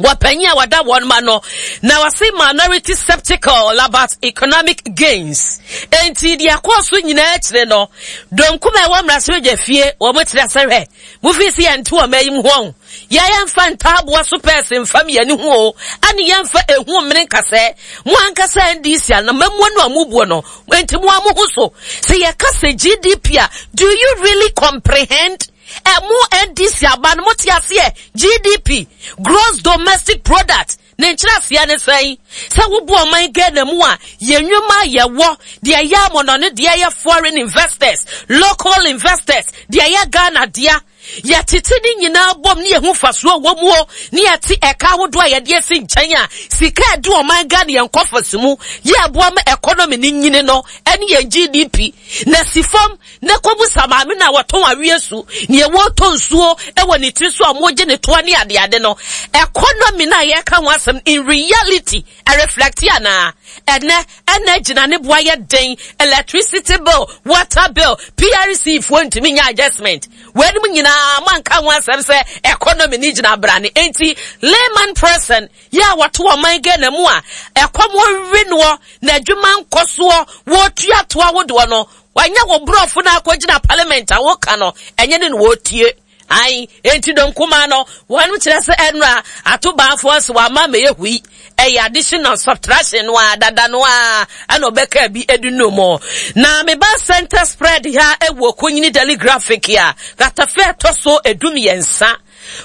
Wɔpanyin a wɔda wɔn ma no na wɔse minority sceptical about economic gains. Enti deɛ ɛkɔɔ so nyinaa akyire no, donkum a ɛwɔ mmarahyɛbadwa fie wɔn kyerɛ sɛ hwɛ, mufi sɛ yɛnte wɔn ayi mu ho yɛ yɛmfa ntaaboa so pɛɛse mfam yɛn ho o, ɛne yɛmfa ehu mmene nkasɛɛ. Mo ankasa NDC anamamuo no a mubuo no, enti mo a mo ho so. Sɛ yɛka sɛ GDP a, do you really comprehend? Ɛmo NDC aba no mote aseɛ GDP gross domestic product ne nkyerɛaseɛ ne sɛn? Sɛ wobu ɔman Ghana mu a yɛn nnwuma a yɛwɔ deɛ ɛyɛ amɔnɔne deɛ ɛyɛ foreign investors local investors deɛ ɛyɛ Ghana dea yɛtete ne nyinaa bom ne yɛhu fasoɔ wɔ mu o ne yɛte ɛka ahodoɔ a yɛde asi nkyɛn a sika ɛde ɔman Ghana yɛn kɔfɔs mu yɛ ɛboa ma economy ne nyini no ɛne yɛn GDP na si fam Na kɔbisa maame no a wɔtɔn aweɛ su, nea wɔtɔ nsuo wɔ ne tiri so a wɔgye ne toɔ ne adeade no. Economy no a yɛka ho asɛm in reality, ɛreflect anaa? Ɛnɛ, ɛna gyina ne boa yɛ den, electricity bill, water bill, PRC foɔ ntumi nyɛ adjustment. Weinom nyinaa moanka ho asɛm sɛ economy no gyina abrane. Enti layman person yɛ a wɔte ɔman Ghana mu a ɛkɔm we noɔ na adwuma nkɔ soɔ, wɔtua toa ahodoɔ no, Wanyɛ wo borɔfo no akɔgyina parliament a woka no ɛnyɛ ne na wɔtie. Ae, enti dɔm kumaa no, wɔn kyerɛ sɛ ɛnora ato baafoɔ nso wama mɛyɛ hui. Ɛyɛ addition and subtraction no a dada no a ɛna ɔbɛka bi edi no mu. Na meba center spread ha ɛwɔ Konyini Daily Graphic a katafe ɛtɔ so edumiɛnsa.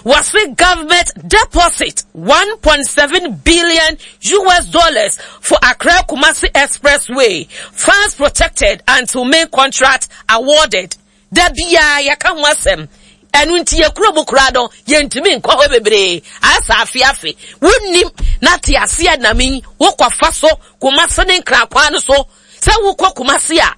Wɔse government deposit 1.7 billion US dollars for Accra Kumasi Expressway funds protected until main contract awarded. Da biara yɛka ho asɛm. Ɛno nti yɛ kurom koraa no yɛntumi nkɔ hɔ bebree. Asa afe afe. Wonnim na te aseɛ nam yi wokɔfa so Kumasi ne Nkran kwan no so. Sɛ wokɔ Kumasi a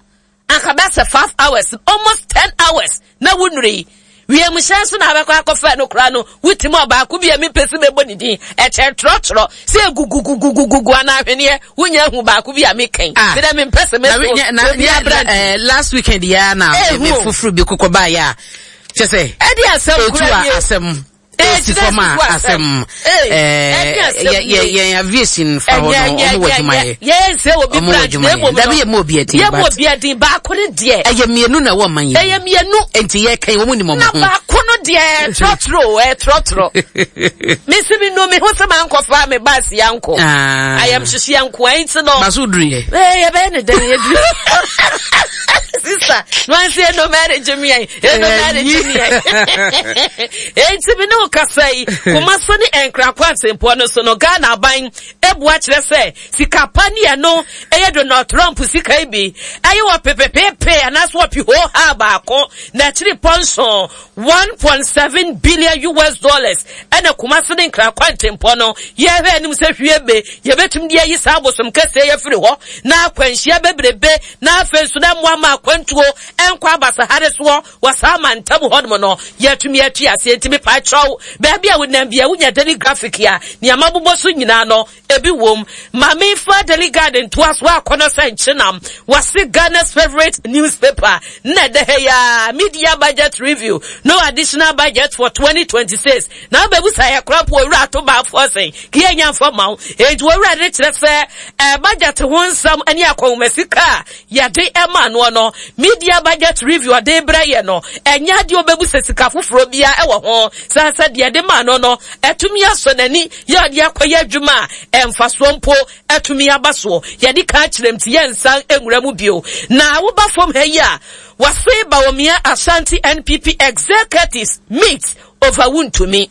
Anka bɛyɛ sɛ 5 hours, almost 10 hours na wonnuru yi. Wiemhyɛn so na abɛkɔ akɔfɛ no koraa no, wotim ɔbaako bi a mepɛ sɛ mɛbɔ ne din. Ɛkyɛ trɔtrɔ sɛ egugugugugugu anaa ahweneɛ, wonya ahu baako bi a mekɛn. Ah. Medɛ mempɛ sɛ mɛso obi abra. Eh, last weekend ya na me foforo bi kokɔ baayɛ a, kyɛ sɛ ɛde asɛm kura nie. Asɛm. Esi fam a asɛm yɛn aviation fa hɔ no ɔmo wɔ adwuma yɛ. Yɛn sɛ obi ɔmo wɔ adwuma yɛ dabi yɛ mu obi ɛdin yɛ mu obi ɛdin baako no deɛ. Ɛyɛ mmienu na ɛwɔ ɔman yi. Ɛyɛ mmienu. Nti yɛ kɛn wɔn nim ɔmo ho. Na baako no deɛ trɔtrɔ ɛ trɔtrɔ. Mesi mi nu mi ho sɛ maa nkɔ fa mi baasi ya nkɔ. Ayɛm hyehye ya nko ɛn ti no. Baso duru yɛ. Ɛɛ yɛ bɛyɛ ne dɛn yɛ duru. Sisa nwansi eno mɛri jimi yɛn eno mɛri jimi yɛn. Enti me ne wo kasa yi, Kumasi ne Nkran kwantempɔn no so no, Ghana aban abua kyerɛ sɛ sika pa ne ɛno ɛyɛ Donald Trump sika yi bi ɛyɛ wɔ pepepepe anaasɛ wɔ pihoohaa baako na akyiri pɔnso 1.7 billion US dollars ɛna Kumasi ne Nkran kwantempɔn no yɛhwɛ anim sɛ hwie be yɛbɛtumi de ayi saa abosom kɛseɛ yɛ firi hɔ na akwanhyia bebrebe na afei nso na mmoa ma akwantuo ɛnkɔ abasahare soɔ Wɔ saa mantam hɔnom no, yɛatumi atu aseɛ nti mepakyɛw, baabi a wonam bia wonya Daily Graphic a, nea mabobɔ so nyinaa no, ebi wom. Ma memfa Daily Guide ntoa so akɔnɔ sɛ nkyenam. Wɔse Ghana's favourite newspaper na ɛda ha yi ara, Media Budget Review, no additional budget for 2026. Na wobɛbusa yɛ koraa mpo owura ato baafoɔ sɛn, ka yɛnya mfa ma wo. Enti owura de kyerɛ sɛ eh, budget ho nsɛm ne akɔnhomasika a yɛde ma noɔ no, Media Budget Review ɔde brɛ yɛ no, ɛnyɛ adeɛ ɔbɛbu sɛ sika foforɔ biara ɛwɔ ho, sane sɛ deɛ yɛde ma no no, atumi asɔ n'ani yɛ ɔde akɔyɛ adwuma a ɛmfasoɔ mpo atumi aba soɔ. Yɛde ka akyerɛ nti yɛnsan nwura mu bio. Na woba fam ha yi a, wɔse Bawumia Ashanti NPP Executives meet over Wontumi.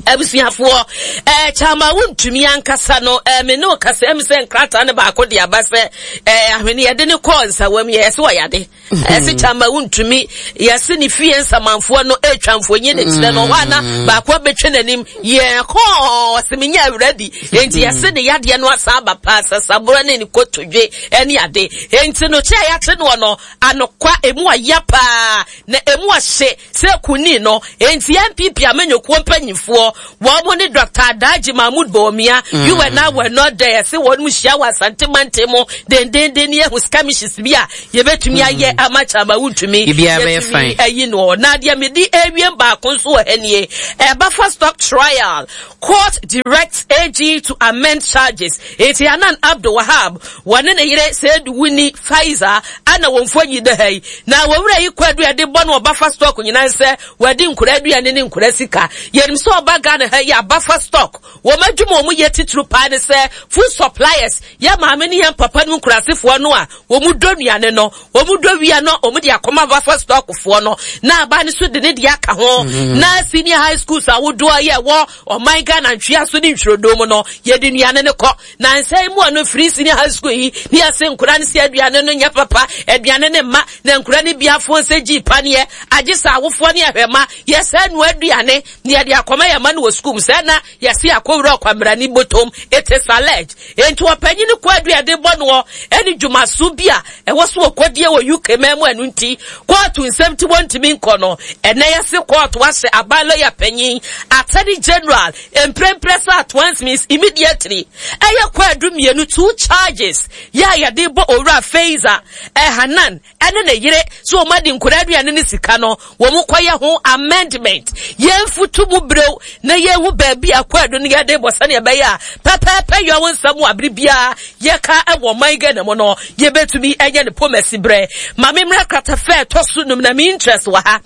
Abusuafoɔ, ɛɛ kyama wontumi ankasa no, ɛɛ me ne wo kasa ɛmi sɛ nkrataa no baako de aba sɛ ɛɛ ahwene yɛde ne kɔɔ nsawam yɛ ɛsɛ ɔyade. Ɛsɛ kyama wontumi yɛse ne fie nsamanfoɔ no ɛretwa mfonyin ne kyerɛ no hɔ ana baako abɛtwa n'anim yɛ kɔɔ ɔsɛ menya awuradi. Enti yɛse ne yadeɛ no asan aba paa sasaborɔ ne ne kotodwe ɛne ade. Enti no kyɛ a yɛate noɔ no anokwa emu ɔya paa na emu ɔhye sɛ kunni no. Enti NPP amanyɔkuo mpanyinfoɔ. foɔ wɔn ne Dr. Adaji Mahmood Bawumia mm. you and I were not there yɛse wɔn mu hyia wɔ Asante mantam mu dendenden ne yɛhu skirmishes bi a yɛbɛtumi mm. ayɛ ama Chairman Wontumi yɛtumi ayi no na deɛ mede awie baako nso wɔ ha nie ɛba fa stock trial court directs AG to amend charges eti Anan Abdul Wahab wɔne ne yere Seidu Wuni Faiza ana wɔn mfonyin da ha yi na wɔn wura yi kwadu a yɛde bɔ no ɔba fa stock nyinaa sɛ Wɔadi nkora aduane ne nkora sika. Yɛnim sɛ ɔba Ghana ha yi a, buffer stock, wɔn adwuma a wɔyɛ titiriw paa ne sɛ food suppliers, yɛn maame ne yɛn papa nom nkurasefoɔ no a wɔn dɔ nnuane no, wɔn dɔ wia no wɔn de akɔma buffer stock foɔ no, na aban no so de ne deɛ aka ho. Mm. Na senior high schools ahodoɔ yɛ wɔ ɔman Ghana ntwea so ne ntwirodo mu no, yɛde nnuane no kɔ. Na nsa yi mu a no firi senior high school yi ne yɛse nkora no sɛ aduane no nyɛ papa, aduane no mma, na nkora no bi afoɔ nsɛ gyii paneɛ, agye sɛ awofoɔ ne ahwɛma yɛsɛ noa aduane na yɛde akɔma yɛn mma no wɔ sukuu mu sɛ na yɛse akɔwura ɔkwammerani bɔtɔm. It is alleged. Enti ɔpanyin no kɔ aduane bɔ noɔ ɛne dwumaso bi a ɛwɔ so wɔkɔdie wɔ UK man mu ɛno nti kɔɔto nsɛm nti wɔntumi nkɔ no. Ɛnɛ yɛse kɔɔto ahyɛ aban lɔya panyin, Attorney General, Mprempren sɛ at once means immediately. Ɛyɛ kwaadu mmienu, two charges, yɛ a yɛde bɔ Owura Feiza Hanan ne ne yere sɛ wɔn adi nkwadaa aduane ne sika no, wɔn kɔyɛ ho amendment. Yɛnfutu mu brɛw na yɛnhu baabi a kwaadu no yɛde bɔ sɛnea ɛbɛyɛ a pɛpɛɛpɛ yɛ wɔn nsɛm wɔ abere biara yɛka wɔ ɔman Ghana mu no, yɛbɛtumi anya ne pomasi berɛ. Ma me mmra kratafɛ ɛtɔ so num na me interest wɔ ha.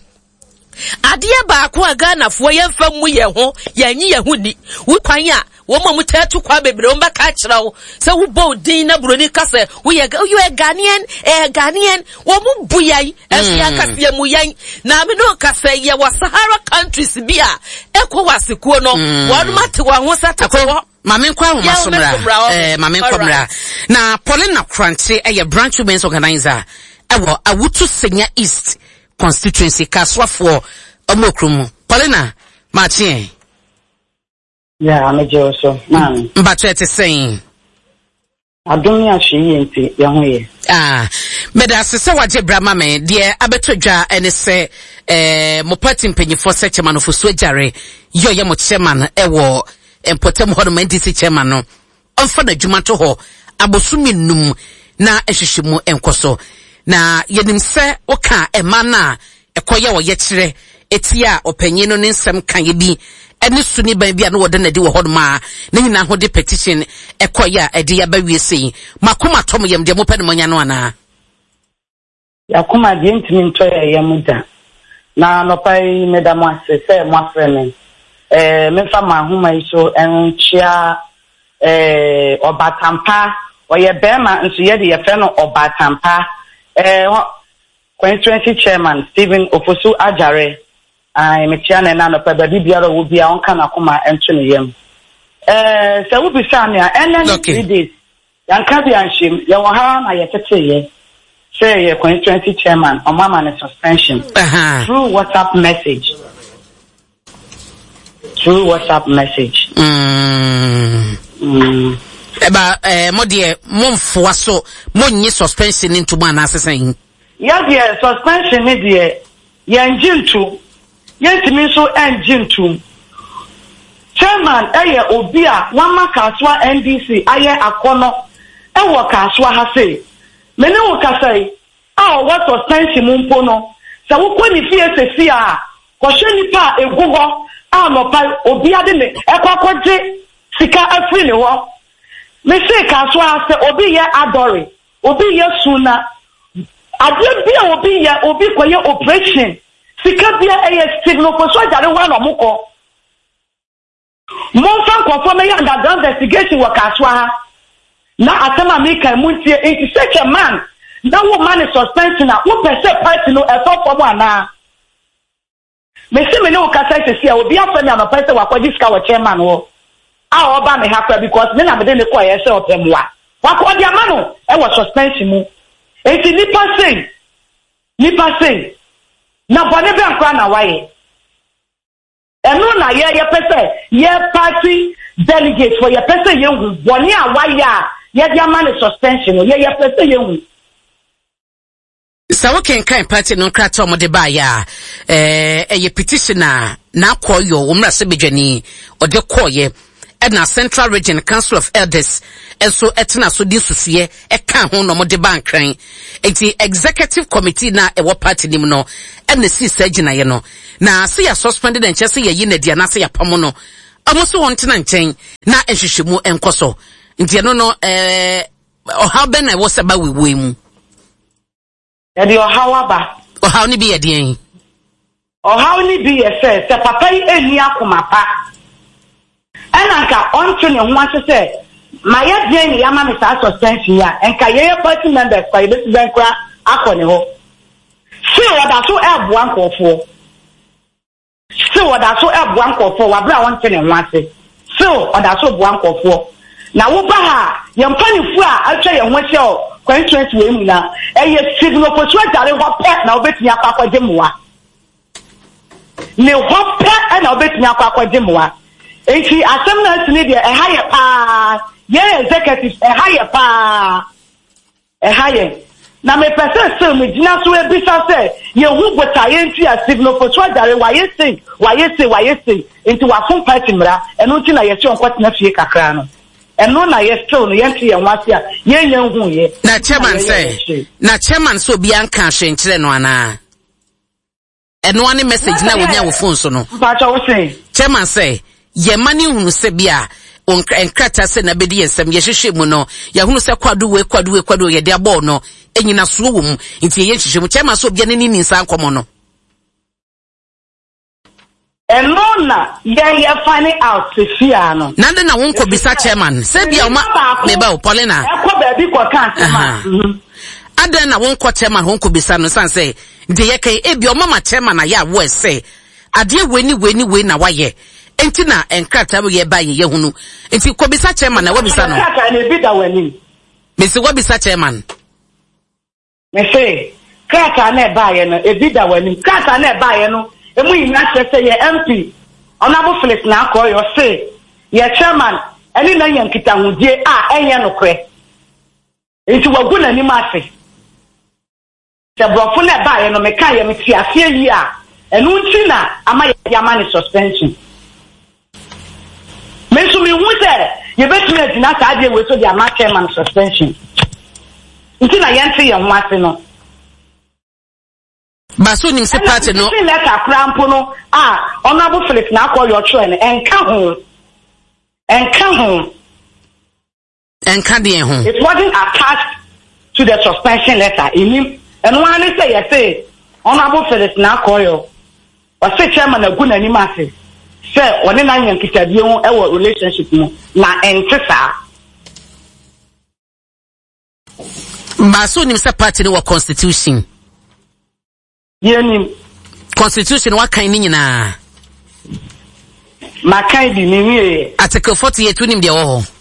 Adeɛ baako a Ghanafoɔ yɛmfa mmu yɛn ho, yɛnnye yɛn ho nni. Wo kwan a wɔn a wɔtaa tu kwan bebree wɔn bɛka akyerɛ wo sɛ wobɔ wo din na buroni ka sɛ woyɛ woyɛ Ghanaian, ɛyɛ Ghanaian. Wɔn bu yɛn, ɛso yɛn ankasa yɛn mu yɛn. Na me no ka sɛ yɛwɔ Sahara countries bi a ECOWAS kuo no, wɔn ate wɔn ho sɛ tete hɔ. Maame nkɔ ahoma so mmra. Eh, maame nkɔ mmra. Na Paulina Krantse ɛyɛ branch women's organizer ɛwɔ Awutu Senya East constituency Kasoafoɔ ɔmo wɔ kurom mu. Paulina, maakye ɛ. Yeah, megye wo so, maame. Mpakyɛ ɛte sɛn? Adom ne ahwɛyie nti, yɛn ho yɛ. Ah, meda ase sɛ wagye bra ma me. Deɛ abɛtɔ dwa ne sɛ eh, mo party mpanyinfoɔ sɛ Chairman Ofosu Agyare yɛ ɔyɛ mo chairman ɛwɔ mpɔtam hɔ nom NDC chairman no ɔmfa n'adwuma nto hɔ abosome nnum na nhwehwɛmu nkɔ so. Na yɛnim sɛ woka ɛma no a ɛkɔyɛ ɔyɛkyerɛ tia ɔpanyin no ne nsɛm kaeɛ bi ne su ne ban bi a na wɔda no adi wɔ hɔnom a ne nyinaa ho de petition ɛkɔeɛ a ɛde aba wie sei. Mo akoma atɔ mo yam deɛ mopɛ no moanya no anaa? Y'akoma deɛ ntumi ntɔ yɛn yam da. Na anɔpa yi meda mo ase sɛ moafrɛ me. Eh, memfa mo ahoma yi so nkyea eh, Ɔbatampa. Ɔyɛ barima nso yɛde yɛfrɛ no Ɔbatampa. Eh, Constituency Chairman Stephen Ofosu Agyare, ae, mekyea no ɛnnɛ anɔpa yi, baabi biara a ɔwɔ biara ɔnka n'akoma nto ne yam. Eh, sɛ wobisaa me a, ɛnnɛ ne 3 days, yɛanka bi anhyem, yɛwɔ ha ara na yɛteteeɛ sɛ yɛ constituency chairman, ɔmo ama no suspension through WhatsApp message. Through WhatsApp message. Mm. Ɛba ɛɛ mo deɛ mo nfoa so mo nye suspension ne ntom anaasɛ sɛn? Yɛ deɛ suspension ne deɛ yɛn gye ntom yɛntumi nso ɛngye ntom. Chairman ɛyɛ obi a wama Kasoa NDC ayɛ akɔnɔ ɛwɔ Kasoa ha sei. Me ne wo kasa yi a ɔwɔ suspension mu mpo no, sɛ wokɔ ne fie sesia a, kɔhwɛ nnipa a egu hɔ a anɔpa yi obia de ne ɛkɔ akɔgye sika afiri ne hɔ. Mese Kasoa sɛ obi yɛ adɔre, obi yɛ suna, adeɛ bi a obi yɛ, obi kɔyɛ operation, sika bia ɛyɛ Stephen Ofosu Agyare hɔ a na ɔmo kɔ. Momfa nkurɔfoɔ mmɛyɛ underground investigation wɔ Kasoa ha na asɛm a meka yi montie. Nti such a man na woma no suspension a wopɛ sɛ party no ɛtɔ fam anaa? Mese me ne wo kasa yi sɛsi a obi afrɛ me anɔpa yi sɛ wakɔgye sika wɔ chairman hɔ a ɔba me ha koraa because me na mede no kɔeɛ sɛ ɔpɛ mmoa. Wakɔ ɔde ama no wɔ suspension mu. Nti nipa sei nipa sei na bɔne bɛn koraa na wayɛ? Ɛno na yɛ yɛpɛ sɛ yɛ party delegate foɔ yɛpɛ sɛ yɛhu bɔne a wayɛ a yɛde ama no suspension no yɛ yɛpɛ sɛ yɛhu. Sɛ wokenkan party no nkrataa a wɔde baeɛ a, ɛyɛ petition a n'akɔyɔ wɔn mmarahyɛbadwani ɔde kɔɔeɛ ɛna Central Region Council of Elders nso ɛtena so de nsusuiɛ ɛka ho na wɔde ba Nkran. Nti Executive Committee no a ɛwɔ party no mu no ɛna esii saa gyinaeɛ no. Na sɛ yɛ suspend no nkyerɛ sɛ yɛyi no adi anaasɛ yɛapamo no. Wɔn nso wɔn ntena nkyɛn na nhwehwɛmu nkɔ so. Nti ɛno no ɛɛ Ɔhaw bɛn na ɛwɔ sɛ ba wɔ yi mu? Ɛde ɔhaw aba. Ɔhaw no bi yɛ deɛn? Ɔhaw no bi yɛ sɛ, sɛ papa yi nni akoma pa, ɛna nka ɔnte ne ho ase sɛ mayɛ deɛn na yɛama me saa suspension yi a, nka yɛyɛ party members kwa yɛbɛsi dɛn koraa akɔ ne hɔ. Still ɔda so ɛreboa nkurɔfoɔ. Still ɔda so boa nkorɔfoɔ wɔ aberɛ a ɔnte ne ho ase. Still ɔda so boa nkorɔfoɔ. Na wo ba ha a, yɛn mpaninfoɔ a atwa yɛn ho ahyia wɔ constituency wei mu nyinaa, ɛyɛ Stephen Ofosu Agyare hɔ pɛ na wobɛtumi akɔ akɔgye mmoa. Ne hɔ pɛ na wobɛtumi akɔ akɔgye mmoa. Nti asɛm no a asi no deɛ ɛha yɛ paa. Yɛn executives ɛha yɛ paa. Ɛha yɛn. Na mepɛ sɛ still megyina so bisa sɛ yɛhu botaeɛ nti a Stephen Ofosu Adjare wayɛ sei, wayɛ sei, wayɛ sei, nti wafom party mmara, ɛno nti na yɛse ɔnkɔtena fie kakra no. Ɛno na yɛ still no yɛnte yɛn ho ase a yɛnnya nhuiɛ. Na chairman sɛ, na chairman sɛ obiara nkaa hwee nkyerɛ no anaa? Ɛno ara ne message na wonya wɔ phone so no. Mpakyɛ wo se? Chairman sɛ, yɛn mma no nhunu sɛ bi a wɔn nkrataa sɛ na bɛdi yɛn nsam, yɛhwehwɛ mu no, yɛahunu sɛ kwado wei, kwado wei, kwado wei yɛde abɔɔ no, nnyinasoɔ wɔ mu, nti yɛyɛ nhwehwɛ mu. Chairman sɛ obiara n'ani nni saa nkɔmmɔ no. Ɛno na yɛn yɛ find out sesia no. Na de na wo nkɔ bisa chairman sɛ bia ɔma meba o Paulina. Ɛkɔ baabi kɔ ka asɛm a. Mhm. Adɛn na wo nkɔ chairman hɔ nkɔ bisa no san sɛ deɛ yɛka yi ebia ɔma ma chairman ayɛ aware sɛ adeɛ wei ne wei ne wei na wayɛ nti na nkrataa wei ɛba yɛ yɛhunu nti kɔ bisa chairman na wabisa no. Nkrataa no ebi da w'anim. Mesi wabisa chairman. Mese, krataa no a ɛbaeɛ no, ebi da w'anim. Krataa no a ɛbaeɛ no, emu nyinaa kyerɛ sɛ yɛn MP, Honourable Philip Narkoy, ɔse yɛn chairman ne no anya nkitahodie a ɛnyɛ nokorɛ. Nti wagu n'anim ase. Sɛ borɔfo no a ɛbaeɛ no, mekaeɛ, mete aseɛ yie a, ɛno nti na ama yɛde ama no suspension. Me nso mehu sɛ yɛbɛtumi agyina saa adeɛ wei so de ama chairman suspension. Nti na yɛnte yɛn ho ase no. Baso nim sɛ party no. Ɛna letter koraa mpo no a Honourable Philip N'Akɔyɔ ɔtwerɛ no ɛnka ho. Ɛnka ho. Ɛnka deɛn ho? It wasn't attached to the suspension letter. Enim. Ɛno ara ne sɛ yɛse Honourable Phyllis Narkoyo, ɔse chairman agu n'anim ase sɛ ɔne no anya nkitadie ho wɔ relationship mu, na ɛnte saa. Baaso nim sɛ party no wɔ constitution. Yɛnim. Constitution wakan ne nyinaa. Makan bi menwieɛ. Article 48 wonim deɛ ɛwɔ hɔ.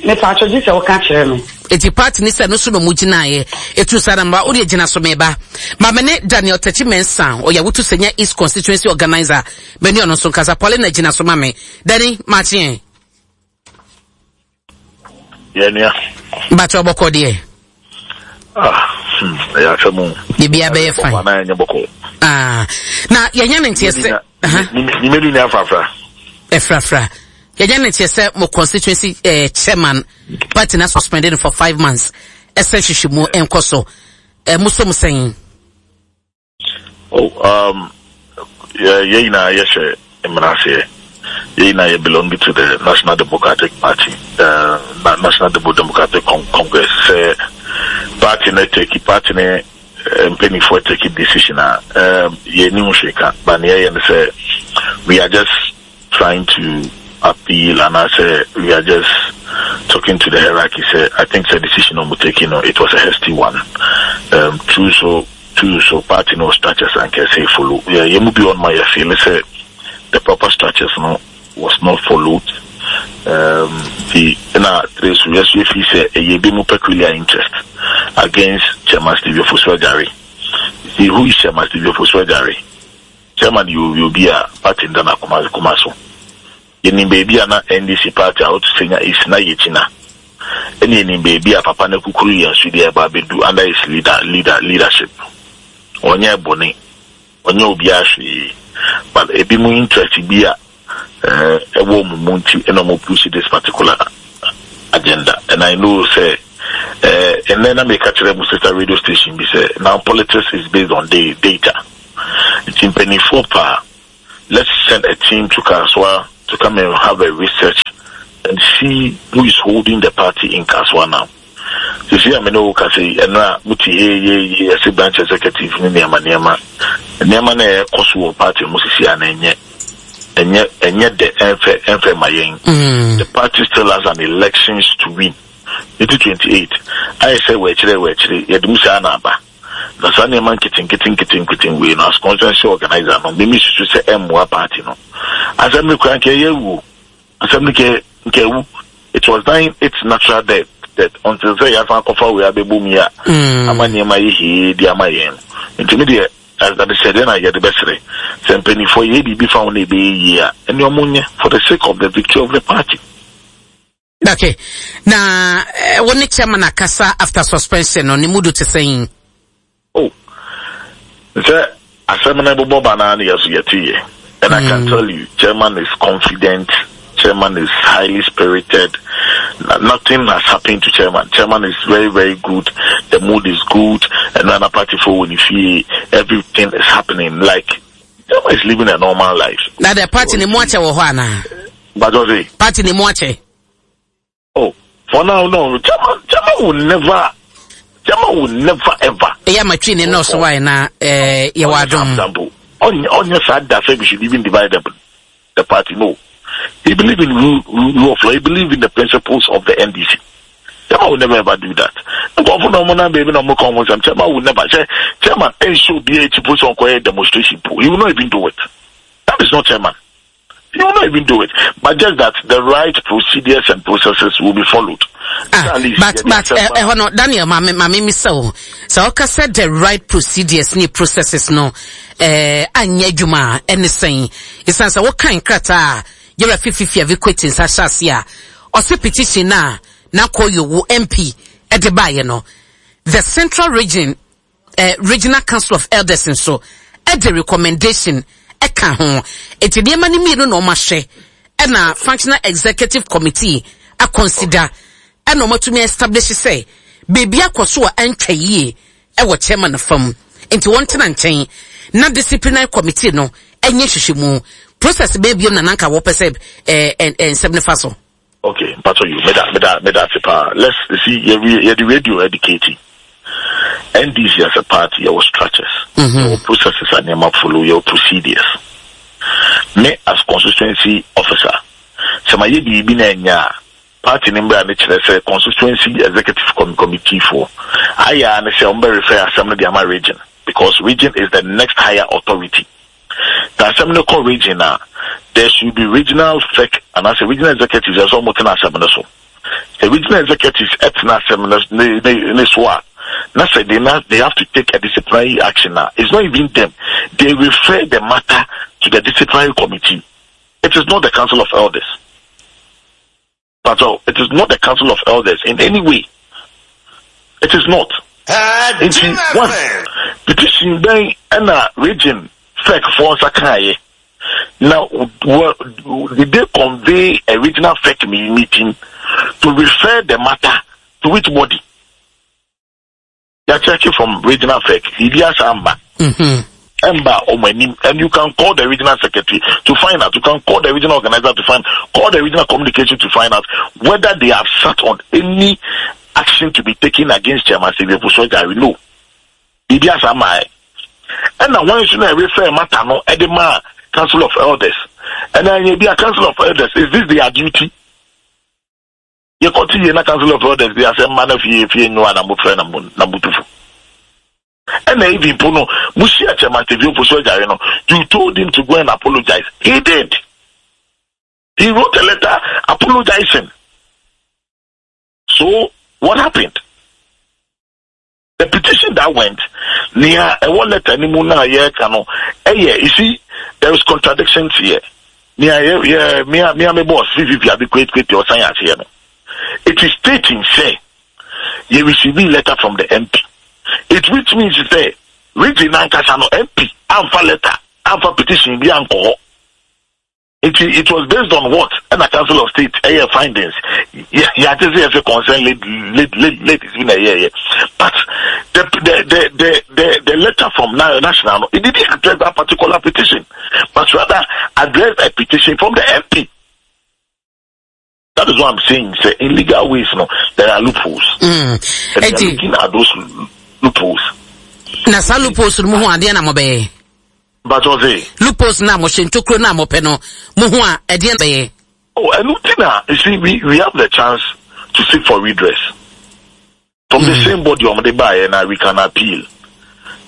Mepatwo gye sɛ woka kyerɛ me. Eti party ne sɛ no so na ɔmo gyinaeɛ. Etu saa na mma wodeɛ gyina so meba. Ma me ne Daniel Takyi Mensah ɔyɛ Awutu Senya East Constituency Organizer me ne ɔno nso nkasa. Paulina gyina so ma me. Danny, makye ɛ. Yɛ nua. Bàtɛ ɔbɔkɔ deɛ. Ah, hmm, ɛyɛ asɛm o. Biribi abɛyɛ fine. Bɔkɔ anaa ɛnyɛ bɔkɔ. Ah, na yɛnyɛ ne nteɛ sɛ. Nimedi ni afrafra. Ɛfrafra. Yɛnyɛ ne nteɛ sɛ mo constituency eh, chairman party na suspended for five months. Ɛsɛ hwehwɛ mu nkɔ so. Eh, mo so mo sɛn. Oh, um, yɛ yɛ nyinaa yɛhyɛ mmara aseɛ. Yɛ nyinaa yɛ belong to the National Democratic Party, uh, National Democratic Con Congress. Sɛ party no take party ne eh, mpanimfoɔ take decision a, um, yɛnni ho hwee ka. But nea yɛyɛ no sɛ we are just trying to appeal anaasɛ we are just talking to the hierarchy sɛ I think sɛ decision a wɔn taking no it was a hasty one um, true so true so party no structures anka ɛsɛ follow yɛ yɛn mu bi wɔn ma yɛ feel sɛ the proper structures no was not followed um, the na three so yɛ so yɛ feel sɛ ɛyɛ ebi mu peculiar interest against Chairman Steve Ofosu Adjare see who is Chairman Steve Ofosu Adjare Chairman yɛ obi obi a party no da n'akoma koma so. Yɛnim baabi a na NDC party a ɔto Senya East na yɛgyina. Ɛna yɛnim baabi a papa no akukuru yɛn so de ɛba abɛdu under his leader leader leadership. Ɔnyɛ bɔne, ɔnyɛ obiara hwee, but ebinom interest bi a ɛwɔ wɔn mu nti ɛna wɔn push this particular agenda. And I know sɛ ɛnɛ na meka kyerɛ mo sister radio station bi sɛ now politics is based on data. Nti mpanimfoɔ paa, let's send a team to Kasoa to come and have a research and see who is holding the party in Kasoa now. Sisi a me ne wo kasa yi, ɛno a mote yee yee yee ɛsɛ branch executive ne nneɛma nneɛma. Nneɛma na ɛkɔ so wɔ party mu sisi a na ɛnyɛ ɛnyɛ ɛnyɛ dɛ ɛnfɛ ɛnfɛ ma yɛn. The party still has an elections to win. 2028 ayɛ sɛ wɔakyerɛ wɔakyerɛ yɛde mu saa na aba. Na saa nneɛma nketenkete nketenkete wei no as constituency organizer no me mesusu sɛ ɛmmoa party no. Asɛm no kura nka ɛyɛ awu o. Asɛm no nka nka awu. It was dying its natural death death until sɛ yɛasan akɔfa wei abɛbɔ mu yi a ama nneɛma ayɛ hee de ama yɛn no. Nti me deɛ adesrɛdeɛ na yɛde bɛsrɛ sɛ mpanimfoɔ yɛyɛ biribi fa ho na ɛbɛyɛ yie a ɛne ɔmo nyɛ for the sake of the victory of the party. Okay. Na eh, wo ne chairman akasa after suspension no, ne mudu te sɛn? Oh, sɛ asɛm no bobɔ ba naa ne yɛ so yɛte yɛ. And I can tell you, chairman is confident, chairman is highly spirited. Nothing has happened to chairman. Chairman is very, very good. The mood is good. And then party for when you everything is happening. Like, chairman is living a normal life. Na the party ne mu akyɛ wɔ hɔ anaa? But say party ne mu akyɛ. Oh, for now, no. Chairman, chairman will never, chairman will never ever. Eya matwi ne nɔɔso wa na eh yɛ wɔ adom. Ɔnyɛ saa da sɛ we should even divide the party. No. He believe in rule, rule of law. He believe in the principles of the NDC. Chairman will never ever do that. Nkurɔfo na ɔmo nan baabi na ɔmo ka ɔmo nsɛm. Chairman will never. Sɛ chairman ɛnhyɛ obiara akyi po sɛ ɔnkɔyɛ demonstration po. He will not even do it. That is not chairman. He will not even do it. But just that the right procedures and processes will be followed. Ah, but but eh, eh, no, Daniel, mame mame misa o. Sɛ ɔka sɛ the right procedures ne processes no eh anyɛ adwuma a ɛne sɛn? Esan sɛ wokan krataa a yɛrɛ fififi a vikweti nsa hyɛ ase a ɔse petition na na kɔ MP ɛde baayɛ no. The Central Region eh, Regional Council of Elders nso de recommendation ka ho. Enti nneɛma no mmienu na wɔahwɛ ɛna Functional Executive Committee akɔnsida ɛna wɔatumi establish sɛ biribi akɔ so a ɛntwa yie ɛwɔ chairman fam. Nti wɔntena nkyɛn na disciplinary committee no ɛnyɛ nhwehwɛmu. Process bɛɛ biom na nanka wɔpɛ sɛ eh, eh, eh, nsɛm no fa so. Okay, mpatsɔ you, meda meda meda ase paa. Let's see, yɛ yɛde radio educate. NDC as a party, yɛwɔ structures, mm -hmm. yɛwɔ processes a nneɛma follow, yɛwɔ procedures. Me as constituency officer, sɛ ma yɛ biribi na ɛnyɛ a, party ne mbra ne kyerɛ sɛ constituency executive committee foɔ ayɛ a ne sɛ wɔn bɛ refer asɛm no de ama region because region is the next higher authority. Sɛ asɛm no kɔ region a, there should be regional fec anaasɛ regional executives ɛsɛ wɔn tena asɛm no so. Sɛ regional executives ɛtena asɛm no ne ne ne so a, na sɛ they na they have to take a disciplinary action a, it's not even them. They refer the matter to the disciplinary committee. It is not the council of elders. But oh, it is not the council of elders in any way. It is not. Nti one petition bɛn ɛna region fec foɔ nsa kaeɛ na did they convey a regional fec meeting to refer the matter to which body? Yɛakyɛke from regional fec biribi asa amba. Ɛmba wɔn anim and you can call the regional secretary to find out you can call the regional organizer to find call the regional communication to find out whether they have sat on any action to be taken against Chairman Xavier Ofosu-Adjare no. Biribi asa mmae. Ɛna wɔn nso na ɛrefer matter no ɛde maa Council of Elders. Ɛna ɛnyɛ bi a Council of Elders is this their duty? Yɛkɔte yie na Council of Elders de asɛm ma na fie fie nyowa na mofrɛ na mo na motufo. Ɛna even po no mo hyia Chairman Stevie Ofosu Adjare no you told him to go and apologize. He did. He wrote a letter apologizing. So what happened? The petition that went, nea ɛwɔ letter no mu na yɛreka no, ɛyɛ, you see, there is contradictions here. Nea yɛ yɛ mea mea me boss VVV abi kwet kwet ɔsan aseɛ no. It is stating sɛ yɛ receive letter from the MP. It which means sɛ region n'ankasa no MP amfa letter amfa petition bi ankɔ hɔ. Nti it was based on what ɛna Council of State ɛyɛ findings. Yɛ yɛate sɛ yɛsɛ concern ladies bi na ɛyɛɛyɛ but the the the the the the letter from national no it didn't address that particular petition but rather address a petition from the MP. That is what I'm saying. Say in legal ways, no, there are loopholes. And they are looking at those loopholes. Na saa loopholes no mu ho adeɛ na mobɛyɛ. But ɔse. Loopholes na mo hyɛ ntokuro na mopɛ no mo ho a ɛdeɛ bɛyɛ. Oh, ɛno ti na you see we we have the chance to seek for redress. From the same body wɔn de baayɛ na we can appeal.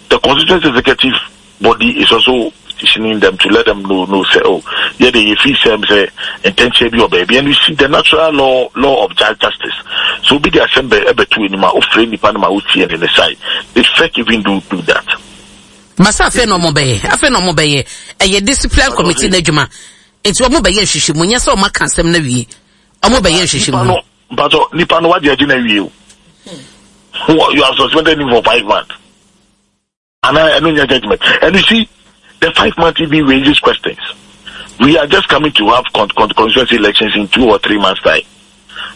The constituency executive body is also petitioning them to let them know know say oh yɛ de yɛ fi sɛm sɛ ntɛnkyɛ bi wɔ baabi and you see the natural law law of justice so obi de asɛm bɛ ɛbɛto anim a ofure nipa no ma otie ne ne side they fek even do do that. Masa afei na wɔn bɛyɛ afei na wɔn bɛyɛ ɛyɛ discipline committee n'adwuma nti wɔn bɛyɛ nhwehwɛmu nyɛ sɛ wɔn aka asɛm no awie wɔn bɛyɛ nhwehwɛmu. Mpatsɔ nipa no wagye agye na awie o. You have suspended him for 5 months. And I don't get judgment. And you see, the 5 months even raises questions. We are just coming to have con- con- constituency elections in 2 or 3 months' time.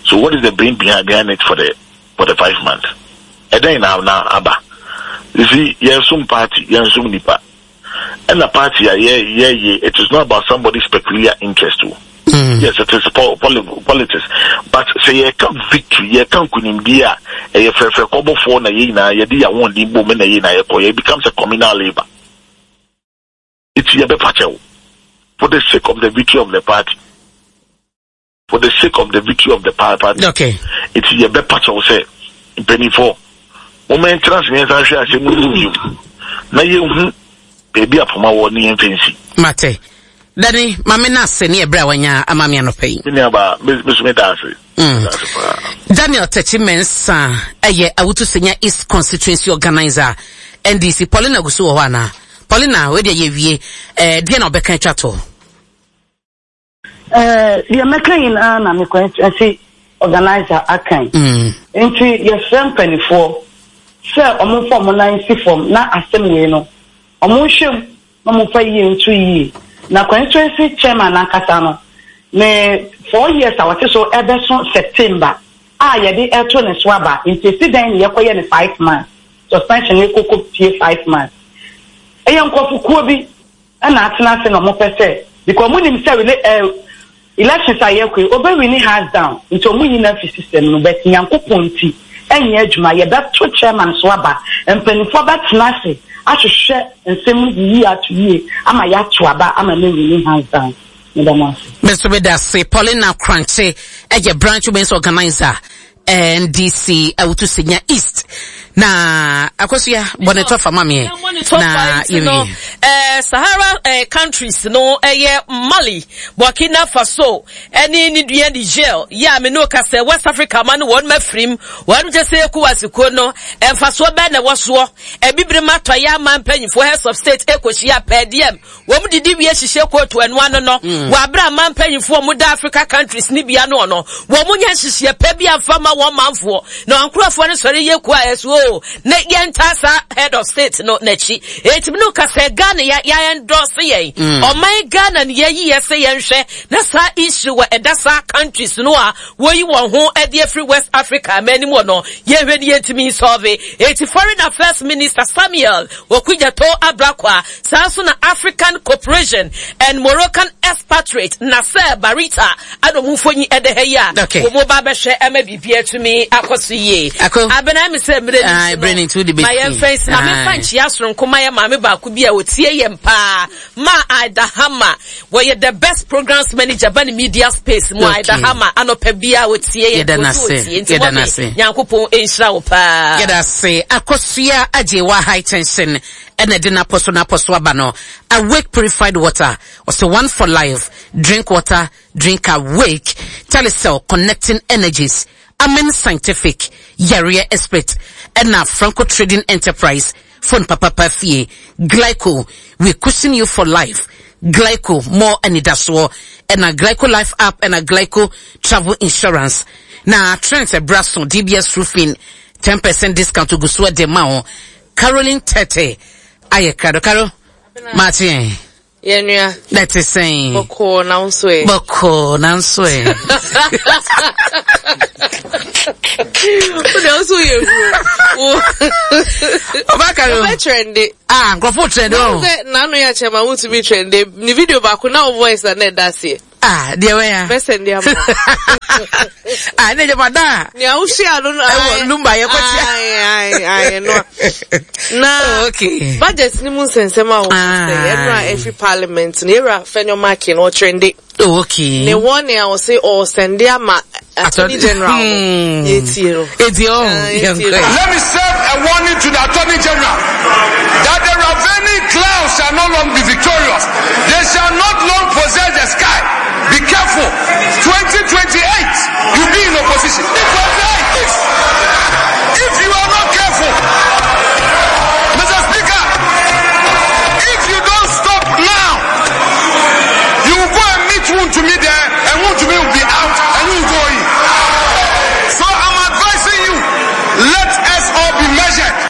So what is the brain behind it for the 5 months? And then now aba. You see, yes, some party, yes, some nipa. And the party, yeah. It is not about somebody's peculiar interest. Too. Yes, it is politics. But sɛ yɛka victory, yɛka nkunimdie a, ɛyɛ fɛfɛ kɔbɔfoɔ na yɛn nyinaa yɛde yɛn ahoɔden bom na yɛn nyinaa yɛkɔ. It becomes a communal labour. Eti yɛbɛpa kyɛw for the sake of the victory of the party. For the sake of the victory of the party. Eti yɛbɛpa kyɛw sɛ mpanimfoɔ wɔn ntena ase yɛn nsa nhwɛ asɛm no mu bio na yɛnhu baabi a poma wɔ ne yɛn fɛnsi. Mate. Dani, maame no ase ne ɛberɛ a wanya ama me anɔpa yi. Me nuabaa, me so meda ase. Daniel Takyi Mensah ɛyɛ Awutu Senya East Constituency Organizer NDC. Paulina gu so wɔ hɔ anaa? Paulina, wei deɛ yɛwie. Eh, deɛ na ɔbɛka atwa toɔ? Eh, deɛ mɛka nyinaa na me constituency organizer akan. Nti yɛsrɛ mpanimfoɔ sɛ wɔmfa wɔn nan nsi fam na asɛm wei no wɔnhwɛ mu na wɔmfa yie nto yie. Na constituency chairman nankasa no ne 4 years a wɔte so ɛbɛso September a yɛde ɛto ne so aba, nti esi dɛn na yɛkɔyɛ ne 5 months suspension no kɔkɔ pie 5 months? Ɛyɛ nkurɔfokuo bi ɛna atena ase na wɔpɛ sɛ because wɔn nim sɛ rela elections a yɛkɔ yi ɔbɛ win hands down, nti wɔn yi na fi system no, but Nyankopɔn nti ɛnyɛ adwuma. Yɛbɛto chairman so aba, mpanimfoɔ bɛtena ase ahwehwɛ nsɛm no yie ato yie ama yɛato aba ama ne win hands down. Meda mo ase. Me nso meda ase. Paulina Kranche ɛyɛ branch women's organizer NDC Awutu Senya East. Na Akosua bɔne tɔ fa ma meɛ na yɛwie. Sahara countries no ɛyɛ Mali, Burkina Faso ɛne ne dua Niger yɛ a me ne ka sɛ West Africa ma no wɔn mafirim wɔn kyɛ sɛ ECOWAS kuo no mfasoɔ bɛn na ɛwɔ soɔ. Abibire ma atɔeɛ ama mpanyinfoɔ heads of state ɛkɔhyia pɛɛdeɛm wɔn didi wie hyehyɛ kootu ɛno ano no wɔ abere a man mpanyinfoɔ wɔn da Africa countries ne bia no no wɔn nyɛ nhyehyɛ pɛ bi amfa ma wɔn manfoɔ na wɔn nkurɔfoɔ no sɔre yɛ kuo a ɛso o na yɛn ta saa head of state no n'akyi etimi no kasa Ghana yɛ yɛ endorse yɛn ɔman Ghana no yɛyi yɛ sɛ yɛnhwɛ na saa issue wɔ ɛda saa countries no a wɔyi wɔn ho ɛde afiri West Africa aman anim wɔ no yɛhwɛ ne yɛntumi solve. Eti Foreign Affairs Minister Samuel Okudzeto Ablakwa, saa nso na African Cooperation and Moroccan expatriate Nasser Barita ana ɔmo mfonyin ɛda ha yi a wɔn ba abɛhwɛ ɛma biribi atumi akɔ so yie. Abena mi sɛ mmerɛ ni so no ma yɛn fɛn si ma mefa nkyia soronko ma yɛ maame baako bi a otie yɛn paa, ma Aida Hama. Wɔyɛ the best programs manager ba ne media space mu. Aida Hama, anɔpa bi a otie yɛn. Yɛda n'ase. Otie nti Yɛda mɔmi n'ase. Nyankopɔn nhyira wo paa. Yɛda ase. Akosua Agyewa High Tension ɛna ɛde n'apɔ so n'apɔ so aba no. Awake Purified Water, ɔsɛ one for life, drink water, drink Awake. Telecel, connecting energies. Amen Scientific, yareɛ expert, ɛna Franco Trading Enterprise, phone papapa fie. Glyco, we cushion you for life. Glyco more anidasoɔ ɛna Glyco Life App ɛna Glyco Travel Insurance na Trent ɛbra so DBS Roofing 10% discount ogu so ɛde ma wo Caroline Tete ayɛ krado Caro maakye yɛn. Yɛn nua. Na ɛte sɛn? Bɔkɔɔ na wo nso ɛ. Bɔkɔɔ na nso ɛ. Wo deɛ wo nso yɛ huro. Ɔba kari o. Wobɛ trende. Ah, nkurɔfo trende o. Sɛ n'ano yɛ akyɛ ma wotumi trende. Ne video baako na wo voice na na ɛda aseɛ. Ah, deɛ wɛ ya. Bɛ sɛnde ama. Ah, ne jama da. Nea wohyia no no. Ɛwɔ lumba yɛ kɔ tia. Ayi ayi ayi no. Na oh, okay. budget ni mu nsɛnsɛm a wɔn sɛ ɛno a ɛfiri parliament no yɛwura Fenyo Markin ɔtrende. Oh, okay. Ne wɔn nea ɔse ɔsɛnde ama attorney general no. Yɛtie no. Etie o. Let me serve a warning to the attorney general that the ravening clouds shall not long be victorious. They shall not long possess the sky. Be careful. 2028, you'll be in opposition. 2028, if you are not careful, Mr. Speaker, if you don't stop now, you will go and meet Wuntumi there, and Wuntumi will be out, and you will go in. So I'm advising you, let us all be measured.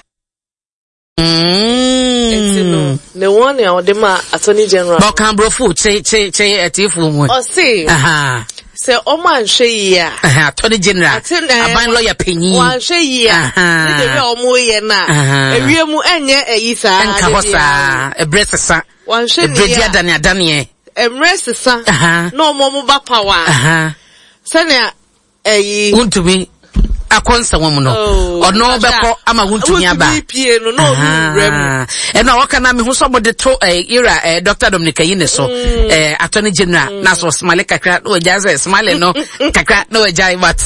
Nti no, ne wɔn nea ɔde ma attorney general. Bɔkan brofo kye kye kye atiefo mu. Ɔse. Sɛ ɔmo anhwɛ yie a. Attorney general. Aban lawyer panyin. Wɔanhwɛ yie a. Ne de bi a ɔmo yɛ na. Ewie mu ɛnyɛ ɛyi saa. Ɛnka hɔ saa. Ɛbrɛ sesa. Wɔanhwɛ ne yie a. Ɛbrɛ di adane adaneɛ. Ɛmrɛ sesa. Na ɔmo ɔmo ba power. Sɛnea ɛyi. Wontumi akɔ nsɛm mu no oh, ɔno bɛkɔ ama wontumi aba wontumi pie no na ɔno wura mu ɛna ɔka na mehu sɛ ɔmode to eh, ira eh, Dr. Dominic ayi ne so mm. eh, attorney general mm. na so smile kakra na wagyae sɛ smile no kakra na wagyae but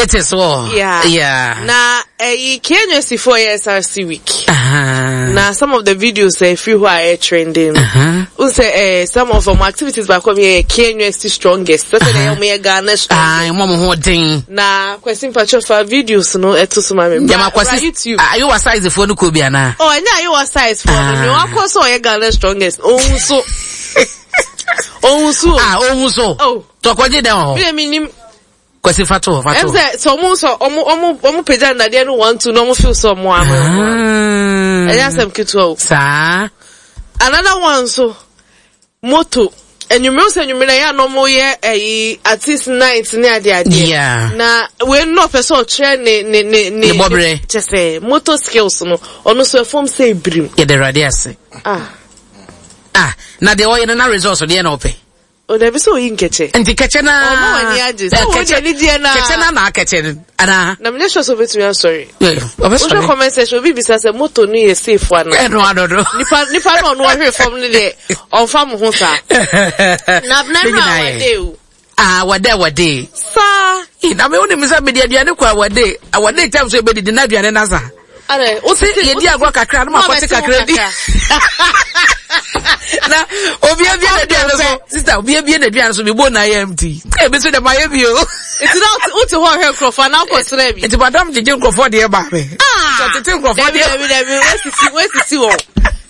it is all yeah. yeah. na ɛyi KNUST foɔ yɛ SRC week uh -huh. na some of the videos ɛfiri hɔ a ɛyɛ trending no uh -huh. sɛ eh, some of wɔn activities baako mi yɛ KNUST strongest sɛ sɛ ɛyɛ wɔn yɛ Ghana strongest ah, wɔn ho den na Kwasi mpatsɔ fa videos no ɛto so ma mi jama Kwasi YouTube ayewa size foɔ no kɔ bi ana oh ɛnyɛ ayewa size foɔ no nea wakɔ so ɔyɛ Ghana strongest ohun so ohun so ah ohun so oh tɔkɔgye dɛn wɔ hɔ mi yɛ mi nim Kwasi fa to hɔ fa to hɔ. Ɛm sɛ sɛ ɔmo sɛ ɔmo ɔmo ɔmo pagya nnadeɛ no one two na ɔmo feel sɛ ɔmo ano. Ah. Ɛnyɛ asɛm ketewa o. Saa. Another one nso moto enyimire sɛ enyimire na yɛ a na ɔmo yɛ ɛyi artist night ne ade adeɛ. Yeah. Na wei no ɔpɛ sɛ ɔkyerɛ ne ne ne ne. Ne bɔbrɛ. Kyɛ sɛ moto skills no ɔno nso ɛfam sɛ ebirim. Yɛde awurade ase. Ah. Ah na deɛ ɔyɛ no na results deɛ na ɔpɛ. O dabi sɛ oyi nkɛkyɛ. Nti kɛkyɛ naa. Ɔma w'ani agye. Sɛ wo deɛ ne deɛ naa. Kɛkyɛ naa na akɛkyɛ no anaa. Na menyɛ sure sɛ obetumi asɔre. Ɔbɛsɔre. Wohwɛ comment section obi bisa sɛ moto no yɛ safe ana. Ɛno adodo. Nipa nipa no ɔno ɔhwere fam no deɛ ɔnfa mo ho saa. Na na na awade o. Ah awade awade. Saa. Na me wonim sɛ mede aduane kɔ awade awade tam so ebedidi na aduane na sa. Adɛ, wo se yɛdi agorɔ kakra na makɔte kakra di. Na obi abie n'aduane so, sista obi abie n'aduane so, mebɔ na ayɛ empty. Ebi so dɛ mayɛ bi o. Nti na wote hɔ hwɛ nkurɔfoɔ anaa wokɔsrɛ bi? Nti madam gyegye nkurɔfoɔ deɛ ba me. Ah! Tete nkurɔfoɔ deɛ. Dabi dabi dabi, wasisi wasisi wɔn.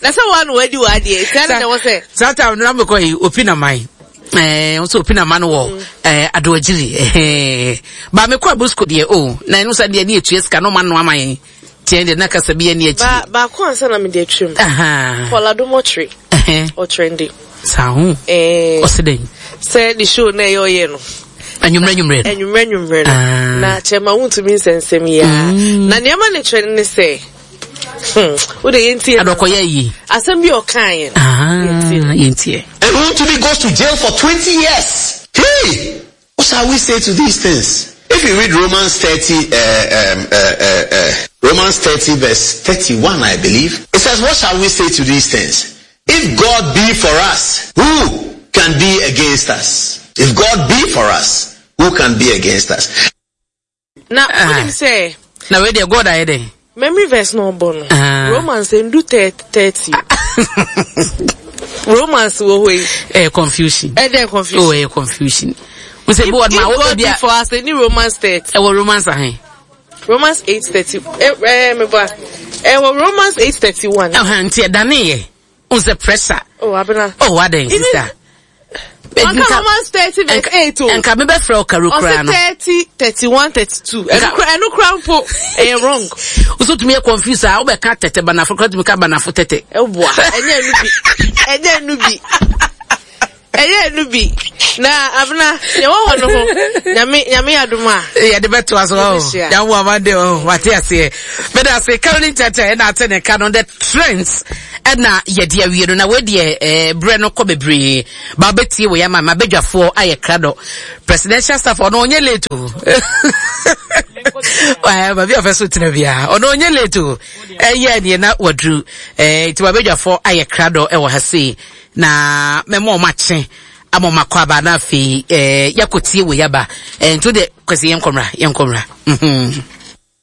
Na sɛ wɔn na wadi wɔ adeɛ, nti ɛna na ɛwɔ sɛ. Saa time no na mekɔ yi, opi na man. Eh, nso opi na man wɔ eh, adoagyiri. Eh, ba mekɔ abusko deɛ o, oh, na ɛno sɛ deɛ ne yɛtua sika no ma no ama yɛn. Tiɛ deɛ na kasa bi ani akyi. Ba baako ansa na mede atwam. Paul Adom ɔkyere. Ɔtrɛnde. Saa ho. Eh. Ɔse dɛn? Sɛ ne show na ɛyɛ ɔyɛ no. Anwummerɛ anwummerɛ no. Anwummerɛ anwummerɛ no. Ah. Na kyɛma wontumi nsɛnsɛm yi ara. Mm. Na nneɛma ne kyerɛ ne sɛ. Hmm. Wo de yɛntie. Adɔkɔyɛ yi. Asɛm bi ɔkaeɛ no. Ah, yɛntie. And Wontumi goes to jail for 20 years. Hey! What shall we say to these things? If you read Romans 30, uh, um, uh, uh, uh, Romans 30 verse 31, I believe, it says, what shall we say to these things? If God be for us, who can be against us? If God be for us, who can be against us? Na wonim sɛ. Na wei deɛ God ayɛ dɛn? Memory verse na ɔbɔ no. Ah. Romans ndu 30. Romans wɔ hɔ yi. Ɛyɛ confusion. Ɛdɛ confusion. Oh, ɛyɛ confusion. Wosɛ bi wɔ ma wo bi a. For us, ɛni Romans 30. Ɛwɔ Romans ahen. Romans 8:30. Ɛ ɛ meba. Ɛwɔ Romans 8:31. Ɛhɛn nti ɛdane yɛ. N sɛ pressure. Oh, abena. Oh, adɛn sister. Wanka Romans 30 verse 8 o. Nka me bɛfrɛ wo karo koraa no. Ɔse 30, 31, 32. Ɛno kora ɛno kora mpo ɛyɛ wrong. Woso tumi yɛ confuse a wobɛka tɛtɛ banafo kora tumi ka banafo tɛtɛ. Ɛboa ɛnyɛ ɛnu bi ɛnyɛ ɛnu bi. Ɛyɛ ɛnu bi na abena yɛ wɔ hɔ no ho nyame nyame adum a. Yɛde bɛto aso hɔ yawo amande hɔ wate aseɛ bɛda ase Caroline Tɛtɛ ɛna ate ne ka no the trends ɛna yɛde awie no na wei deɛ ɛɛ berɛ no kɔ bebree ba wobɛtie wei ama ma badwafoɔ ayɛ krado presidential staff ɔno ɔnyɛ late o ɛɛ baabi a ɔfɛ so tena biara ɔno ɔnyɛ late o ɛyɛ neɛ na waduru ɛɛ nti ma badwafoɔ ayɛ krado ɛwɔ ha sei. Na mɛma wɔn akye ama wɔn akɔ aba na afei ɛɛ yɛakɔtie wei aba ɛɛ nti deɛ kwasi yɛn nkɔmra yɛn nkɔmra. Mhm.